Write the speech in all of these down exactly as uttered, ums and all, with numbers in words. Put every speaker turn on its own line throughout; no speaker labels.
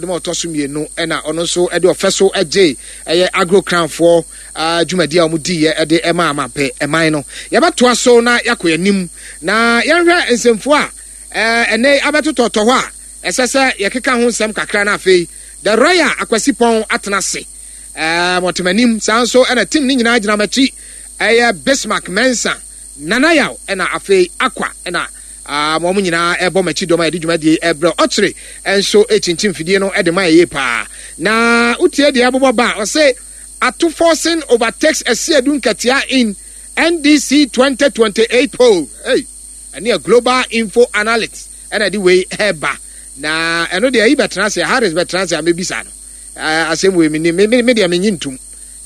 Adom a ɔtɔ so mmienu ɛna ɔno nso ɛde ɔfɛ so ɛgye ɛyɛ Agro Crownfoɔ dwumadi a wɔn diiɛ ɛde ɛma amampɛ ɛman no. Yɛbɛtoa so na yɛakɔ anim na yɛnhwɛ nsɛmfoɔ a ɛnɛ abɛtotɔtɔ hɔ a ɛsɛ sɛ yɛkeka ho nsɛm kakra. No afei the Royal Akwasi Pɔn atena ase ɛɛ mɔtemanim saa nso ɛna team ne nyinaa gyina m'akyi, ɛyɛ Bismarck Mensa, Nanayaw, ɛna afei Akwa, ɛna wɔn nyinaa ɛbɔ m'akyi dɔm a yɛde dwumadie ɛbrɛ. Ɔkyere nso ekyinkyim fidie no ɛde ma yɛ paa na wotie deɛ ɛbobɔ ba a ɔsɛ Ato Forson overtakes Asiedu Nketia in N D C twenty twenty-eight poll. Hey, ɛne a Global Info Analytics ɛna de wei ɛɛba na ɛno deɛ ɛyi bɛtena ase, Harris bɛtena ase a mebisa no asɛm wei. Mi ni mi mi deɛ menyi ntum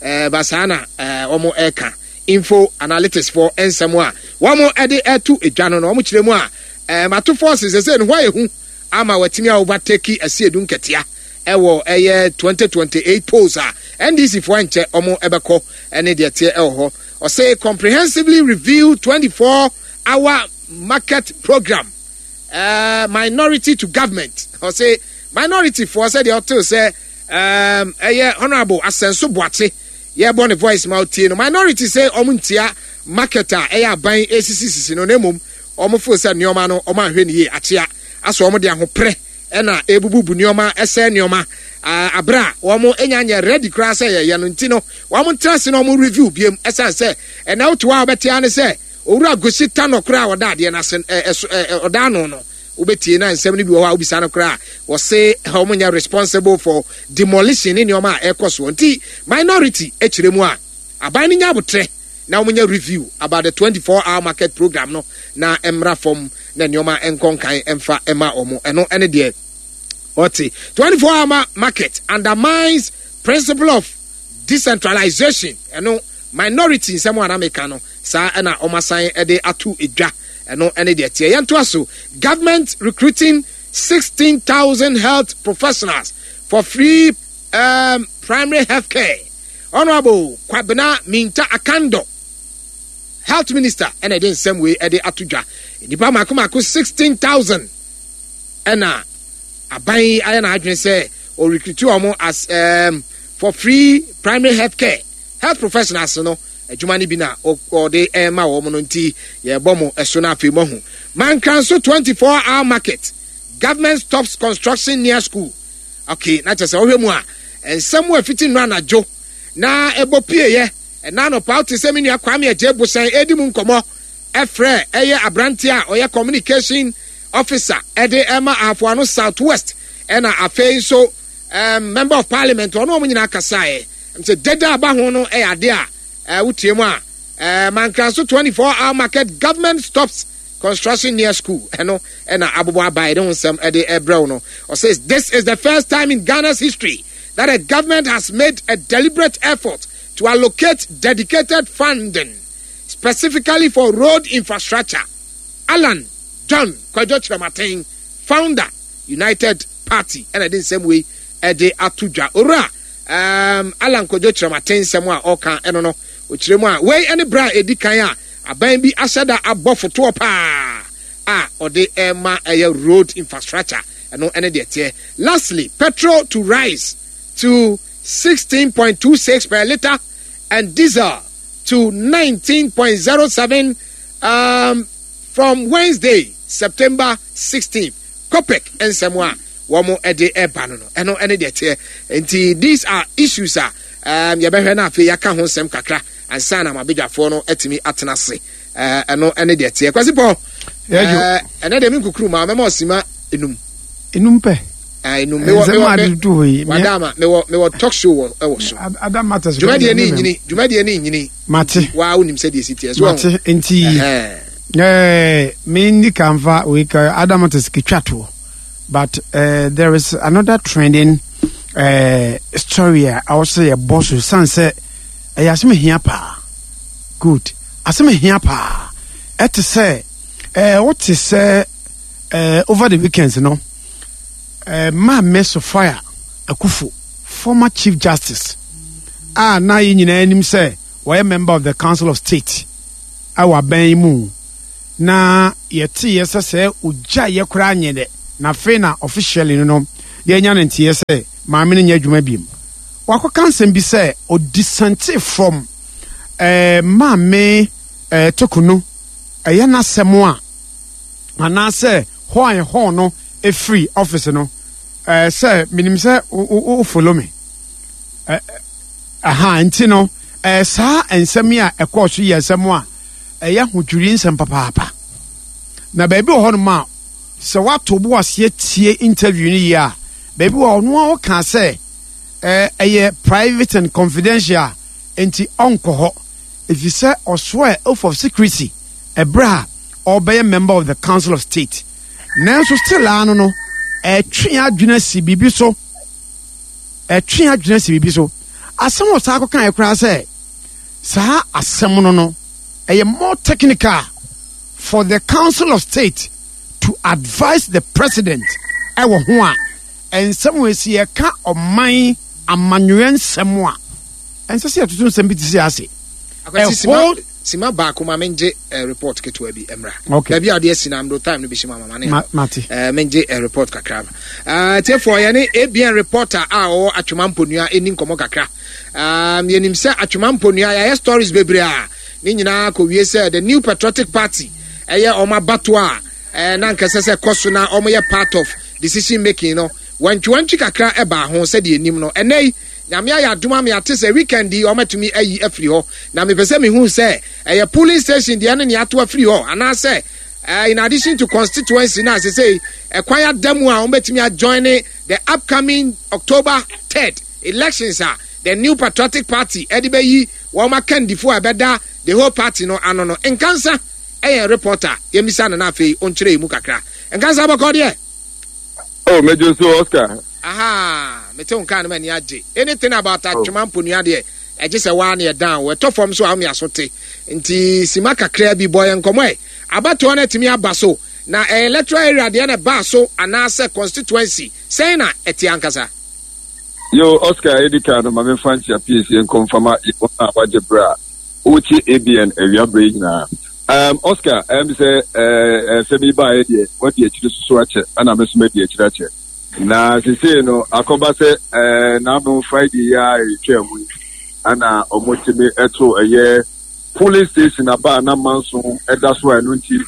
ɛɛ ba saa na ɛɛ wɔn ɛɛka Info Analytics foɔ nsɛm a wɔn ɛde ɛto edwa no na wɔn kyerɛ mu a ɛɛ Ato Forson sɛ ne ho ayɛ hu ama wɔatumi a overtake Asiedu Nketia ɛwɔ ɛyɛ twenty twenty-eight polls a N D C foɔ nkyɛ wɔn ɛbɛkɔ. Ɛne deɛ teɛ ɛwɔ hɔ, ɔsɛ comprehensively review twenty-four hour market program, uh, minority to government. Ɔsɛ minority foɔ sɛ deɛ ɔtew sɛ um, ɛyɛ Honourable Asɛnso Boakye yɛbɔ ne voice ma ɔtie no, minority sɛ ɔmo ntia market a ɛyɛ aban esisisisi no, na mmom ɔmo fo sɛ nneɛma no ɔmo ahwɛ ne yie akyea asɔ ɔmo de ahoprɛ ɛna ebububu nneɛma, ɛsɛ nneɛma abere a wɔn enya nyɛ ready koraa sɛ yɛyɛ no. Nti no wɔn ntena ase na wɔn review biem, ɛsan sɛ ɛna wotu a wɔbɛte ano sɛ Owura Gosi Tano koraa a ɔda adeɛ n'ase ɛ ɛso ɛ ɔda ano no, wobɛtie na nsɛm no bi wɔ hɔ a wobisa no koraa, wɔse wɔn nyɛ responsible for demolition ne nneɛma a ɛkɔ soɔ. Nti minority akyerɛ mu a aban no nya abotrɛ na wɔn nyɛ review about the twenty four hour market program no na mmra fam na nneɛma nkɔ nkan mfa ɛma wɔn. Ɛno ɛne deɛ ɔte twenty four hour market undermines principle of decentralization. Ɛno minority nsɛm a anamika no saa ɛna wɔn asan ɛde ato edwa. Ɛno ɛne deɛ teɛ. Yɛn to aso, government recruiting sixteen thousand health professionals for free um, primary health care. Honourable Kwabena Mintah Akandoh, health minister, ɛna ɛde nsɛm wei ɛde ato dwa. Nipa mako mako sixteen thousand ɛna aban ayɛ n'adwene sɛ ɔrecruit wɔn as um, for free primary health care. Health professionals no adwuma no bi na ɔde ɛma wɔn no, nti yɛbɔ mo ɛso no. Afei mo ho Mankranso twenty four hour market, government stops construction near school. Okay, na kyerɛ sɛ ɔhwɛ mu a nsɛm a ɛfiti nnuro anadwo na ɛbɔ pieeɛ ɛna anɔpa, wote sɛ me nua Kwame Agye Bosan ɛdi mu nkɔmmɔ, ɛfrɛ ɛyɛ aberanteɛ a ɔyɛ communication officer ɛde ɛma Ahafoano South West, ɛna afei nso um, member of parliament, ɔno wɔn nyinaa kasaeɛ sɛ deda aba ho no ɛyɛ ade a ɛɛ wotie mu a ɛɛ Mankranso twenty four hour market, government stops construction near school. Ɛno ɛna abobɔ aba ɛde ho nsɛm ɛde ɛbrɛw no. Ɔsays this is the first time in Ghana's history that a government has made a deliberate effort to allocate dedicated funding specifically for road infrastructure. Alan John Kwadwo Kyerɛmaten, founder, United Party, ɛna ɛde nsɛm wei ɛde ato dwa. Owura um, Alan Kwadwo Kyerɛmaten nsɛm a ɔka ɛno no, ɔkyerɛ mu a wei ɛne berɛ a ɛdi kan a aban bi ahyɛ da abɔ fotoɔ paa a ɔde ɛma ɛyɛ road infrastructure. Ɛno ɛne deɛ teɛ. Lastly, petrol to rise to sixteen point two six per litre and diesel to nineteen point zero seven um, from Wednesday, September sixteenth. COPEC nsɛm a wɔn de ɛba no no ɛno ɛne deɛ teɛ. Nti these are issues a um, yɛbɛhwɛ no afei yɛaka ho nsɛm kakra ansa na mabadwafoɔ no atumi atena ase. Ɛno ɛne deɛ teɛ. Kwasi Pɔ, ɛnɛ deɛ menkukuru ma mɛma ɔsima enum.
Enum pɛ?
Enum. Mewɔ mewɔ wadama mewɔ mewɔ talk show wɔ ɛwɔ so.
Other matters.
Dwumadie ne nyini, dwumadie ne nyini.
Mate.
Waa, wonim sɛ deɛ si teɛ so.
Mate, nti ɛɛ me ni kanfa wei ka other matters ketwa toɔ, but uh, there is another trending uh, story a awɔ sɛ yɛbɔ so san sɛ ɛyɛ asɛm hia paa. Good, asɛm hia paa. Ɛte sɛ ɛɛ wote sɛ ɛɛ over the weekends no, ɛɛ Maame Sophia Akufo, former Chief Justice a na yɛn nyinaa anim sɛ wɔyɛ member of the Council of State a wɔ abɛn yi mu, na yɛte yɛ sɛ sɛ ogya yɛ koraa nyɛ dɛ, na afei na officially no no Yɛnya ne nteɛ sɛ maame no nyɛ adwuma biem. Wakɔka nsɛm bi sɛ ɔdissent from eh, maame eh, Torkornoo ɛyɛ n'asɛm a anaasɛ hɔ a ɛhɔ no ɛfiri office no eh, sɛ menim sɛ wo follow me eh, aha. Nti no eh, saa nsɛm yi a ɛkɔɔ so yɛ nsɛm a ɛyɛ ahodwiri nsɛm papaapa. Na baabi wɔ hɔnom a sɛ woato bo aseɛ tie interview no yie a, baabi wɔ ɔno a ɔka sɛ ɛyɛ private and confidential, nti ɔnkɔ hɔ ɛfiri sɛ ɔsoɛ oath of secrecy ɛberɛ a ɔbɛyɛ member of the Council of State. Nanso still ano no ɛtwe adwene si biribi so, ɛtwe adwene si biribi so. Asɛm a ɔsaa kɔka yɛ koraa sɛ saa asɛm no no ɛyɛ more technical for the Council of State to advise the president ɛwɔ ho a nsɛm wɔ esi yɛka ɔman amanyɔɛ nsɛm a ɛnsɛ sɛ yɛtoto nsɛm bi te sɛ ase.
Ɛhɔ sima baako ma mengye uh, report ketewa bi mmra.
Okay.
Baabi a ɔde asi na mdo time no bi hyɛ mu ama ma ne
mate.
uh, mengye uh, report kakra uh, tiefoɔ, yɛne A B N reporter a ɔwɔ Atwoma Mponua ɛni nkɔmmɔ kakra. um, yɛnim sɛ Atwoma Mponua yɛayɛ stories bebree a ne nyinaa kɔwie sɛ the New Patriotic Party ɛyɛ ɔmo abatoɔ a eh, na nkɛsɛ sɛ kɔ so na ɔmo yɛ part of decision making no, wantwiwantwi kakra ɛbaa ho. Sɛdeɛ anim no, ɛnɛ yi Nyame ayɛ adom ama yɛate sɛ weekend yi ɔmatumi ayi afiri hɔ, na mepɛ sɛ mehu sɛ ɛyɛ polling station deɛ ne nea ato afiri hɔ anaasɛ uh, in addition to constituency na sesei ɛkwan ada mu a wɔbɛtumi ajoin the upcoming October third elections a the New Patriotic Party ɛde bɛyi wɔn akandifo a ɛbɛda the whole party no ano no. Nkansa ɛyɛ reporter, yɛmmisa no na afei ɔnkyerɛ mu kakra. Nkansa, bɔkɔ deɛ?
Oh, Major, so Oscar.
Aha, mete wo nkaa no m'ani agye. Anything about Atwoma Mponua deɛ, ɛgye sɛ waa ne ɛdan wo ɛtɔ fam so a wome aso te. Nti sima kakra bi bɔ yɛ nkɔmmɔ ɛ. Abatoɔ no atumi aba so na ɛyɛ electoral area deɛ na ɛbaa so anaasɛ constituency, sɛn na ɛte ankasa?
Yo, Oscar, edi kan no, ma memfa nkyia piesie nkɔmfama yɛwɔ a wagye berɛ a wotie A B N awia berɛ yi nyinaa. Um, Oscar, ɛm sɛ ɛsɛm yi baeɛ deɛ, wadi akyiri soso akyɛ, ɛna me nso madi akyiri akyɛ. Na sesei no akɔba sɛ ɛɛ n'ano Friday yi a ɛtwa mu yi ɛna ɔmotumi ɛto ɛyɛ polling station aba a na manso ɛda so a ɛno nti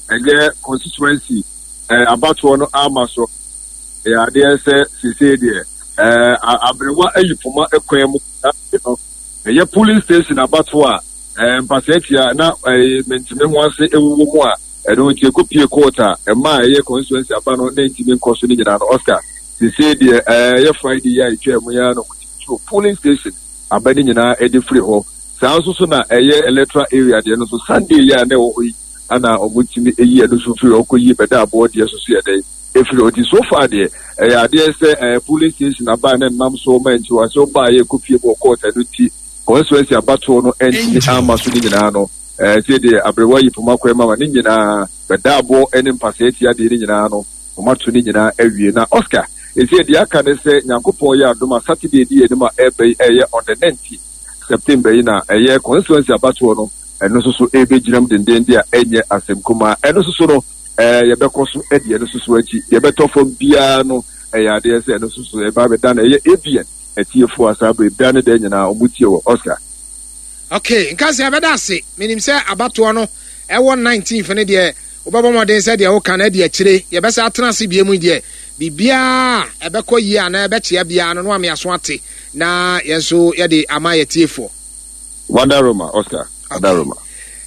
ɛyɛ constituency ɛɛ abatoɔ no ama so. Ɛyɛ adeɛ sɛ sesei deɛ ɛɛ aberewa ayi poma kwan mu no, ɛyɛ polling station abatoɔ a ɛɛ mpasɛɛtia na ɛɛ mɛntumi ho ase ɛwowɔ mu a ɛno nti ekopie court a ɛma a ɛyɛ constituency aba no na ntumi nkɔ so ne nyinaa no. Oscar, sesei deɛ ɛyɛ Friday yi a etwa mu yi ara no wɔtumi polling station aba ne nyinaa ɛde firi hɔ. Saa nso so na ɛyɛ electoral area deɛ no so, Sunday yi a na ɛwɔ hɔ yi ana wɔtumi eyi ɛno nso firi hɔ kɔ yi bɛda aboɔ deɛ so so yɛ dɛ efiri hɔ. Ti so far deɛ, ɛyɛ adeɛ sɛ ɛɛ polling station aba ne nam so ɔma nti wɔ ase ɔba a yɛ kɔpie mu wɔ court, ɛno nti constituency abatoɔ no ɛntumi ama so ne nyinaa no. Ɛɛ sɛ deɛ aberewa yi poma kwan mu ama ne nyinaa bɛda aboɔ ɛne mpasɛɛ tia deɛ ne nyinaa no, wɔn ato ne nyinaa awie. Na Oscar, esi deɛ aka ne sɛ Nyankopɔn yɛ adom a, Saturday di anim a ɛbɛ yi, ɛyɛ on the nineteenth September yi, na ɛyɛ constituency abatoɔ no, ɛno nso so ɛbɛgyinam dendenden a ɛnyɛ asɛm kumaa. Ɛno nso so no ɛɛ yɛbɛkɔ so ɛde ɛno nso so akyi. Yɛbɛtɔ fam biara no, ɛyɛ adeɛ sɛ ɛno nso so ɛba abɛda no ɛyɛ A B N atiefoɔ a saa abere bia ne deɛ nyinaa ɔmo tie wɔ, Oscar.
Okay, nka sɛ yɛbɛda ase. Menim sɛ abatoɔ no ɛwɔ nineteenth no deɛ, wobɛbɔ mmɔden sɛ deɛ woka no adi akyire. Yɛbɛsɛ atena ase bie mu deɛ, biribiaa ɛbɛkɔ yie anaa ɛbɛkyea biara no no ame aso ate na yɛn nso yɛde ama yɛtiefoɔ.
Wanda Roma, Oscar Wanda Roma.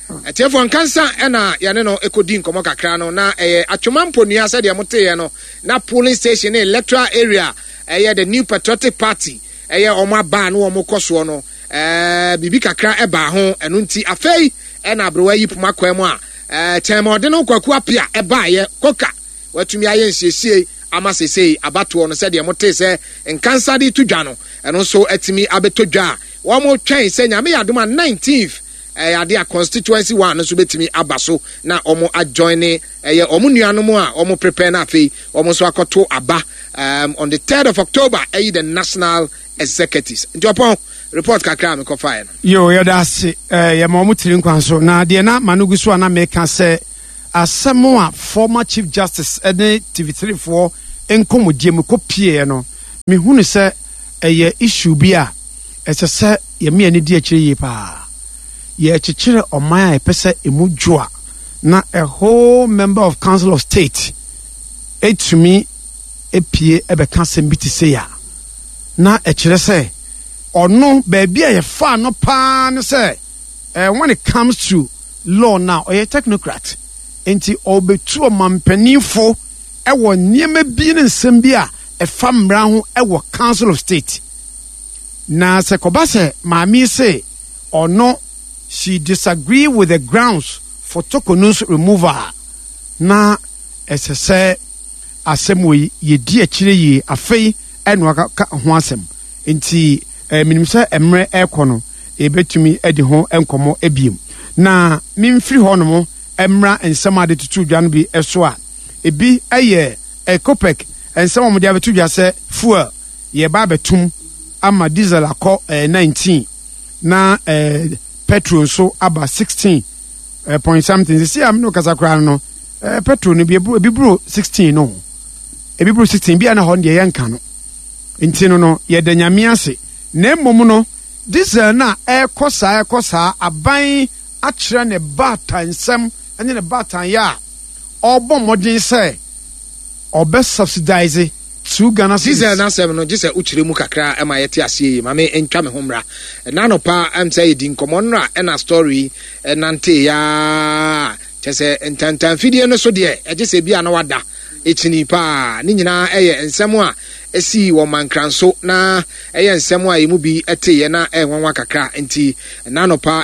Atiefoɔ, nkansa ɛna yɛne no ɛkɔdi nkɔmmɔ kakra no na ɛyɛ Atwoma Mponua. Sɛdeɛ moteeɛ no, na polling station ne electoral area ɛyɛ the New Patriotic Party ɛyɛ ɔmo aba no ɔmo kɔ soɔ no, ɛɛ biribi kakra ɛbaa ho. Ɛno nti afei ɛna aberewa yi poma kwan mu a ɛɛ kyɛn ma ɔde no Kwaku Apia ɛbaayɛ koka watumi ayɛ nsiesie ama sesei abatoɔ no, sɛdeɛ mote sɛ nkansa de to dwa no, ɛno nso atumi abɛtɔ dwa a wɔn twɛn sɛ Nyame yɛ adom a nineteenth ɛyɛ ade a constituency one no nso bɛtumi aba so na wɔn ajoin ne ɛyɛ wɔn nuanom a wɔn prepare na afei wɔn nso akɔto aba um, on the third of October ɛyi the national executives. Nti ɔpɔn report kakra a mekɔfaeɛ no.
Yo, yɛda ase. ɛɛ yɛma wɔn tiri nkwan so na deɛ na ma no gu so a na meka sɛ asɛm a former Chief Justice ɛne T V three foɔ Nkɔmmɔdie mu kɔpieɛ no, mehunu sɛ ɛyɛ issue bi a ɛsɛ sɛ yɛme ani di akyire yie paa. Yɛkyekyere ɔman a yɛpɛ sɛ emu dwo a, na a whole member of Council of State etumi epie ɛbɛka asɛm bi te se a, na ɛkyerɛ sɛ ɔno baabi a yɛfaa no paa ne sɛ eh, when it comes to law now, ɔyɛ technocrat, nti ɔbɛtu ɔmampanimfo ɛwɔ nneɛma bi ne nsɛm bi a ɛfa mmara ho ɛwɔ Council of State. Na sɛ kɔba sɛ maame yi se ɔno she disagree with the grounds for Torkornoo's removal, na ɛsɛ sɛ asɛm wɔ yi yɛdi akyire yie. Afei ɛna waka ho asɛm, nti eh, menim sɛ mmerɛ ɛrekɔ no, yɛbɛtumi adi ho nkɔmmɔ ebiem. Na memfiri hɔ nom mmra nsɛm a de tutu dwa no bi so a, ebi yɛ Ecopec nsɛm a wɔde abɛto dwa sɛ fuel yɛba abɛtum ama diesel akɔ eh, nineteen na eh, petrol nso aba sixteen eh, point something. Sisi a mene kasa koraa no, eh, petrol no bi ebi buro sixteen no, ebi buro sixteen bi a na hɔ no deɛ yɛnka no. Nti no no yɛda Nyame ase. Na mmom no, diesel no a ɛrekɔ saa ɛrekɔ saa, aban akyerɛ ne baata nsɛm ne ne baatan yɛ a ɔrebɔ mmɔden sɛ ɔbɛ subsidize two Ghana cedis.
Diesel n'asɛm no gye sɛ wokyerɛ mu kakra ma yɛte aseɛ yi. Ma me ntwa me ho mmra. Ɛna anɔpa ɛm sɛ yɛdi nkɔmmɔ nnora, ɛna story ɛnante yaa kyɛ sɛ ntantanfidie no so deɛ, ɛgye sɛ bi a na wada ɛkyini paa. Ne nyinaa ɛyɛ nsɛm a ɛsii wɔ Mankranso, na ɛyɛ nsɛm a ɛmu bi ɛteeɛ na ɛnwanwa kakra. Nti ɛna anɔpa